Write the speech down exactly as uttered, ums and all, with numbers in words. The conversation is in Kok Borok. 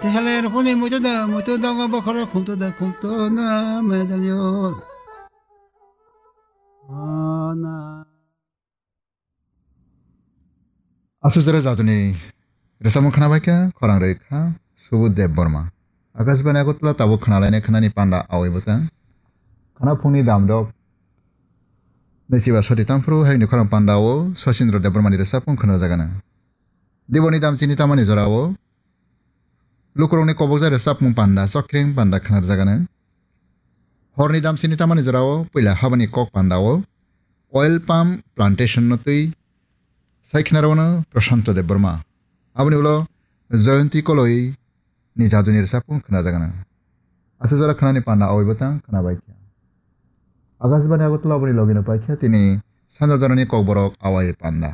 Tihale rukuni mutu da, mutu dongo bokhoro khumtu da, khumtu na medalyo. Ana. Aswk jora jatuni rwchapmung khna bai kha, khorang rwi kha Subudh Debbarma. Akashbani Agartala, tabuk khna lainai khnani panda awai bwtang. Khna phungni damdok naichiba soti tangphuru, haini khorang panda o Sachindra Debbarmani rwchapmung khna rwjagano. Diboni dam chini tamani jorao lukurokni kobokjak rwchapmung panda, chokreng panda khna rwjagano. Horni dam chini tamani jorao puila habani kok panda o oil palm plantation no twi sai khna rwno Prashanto Debbarma. Aboni ulo Jayanti Koloi ni jaduni rwchapmung khna rwjagano. Aswk jora khnani panda awai bwtang khna bai kha. Akashbani Agartala, aboni logino pai kha tini sanja jorani kokborok awai panda.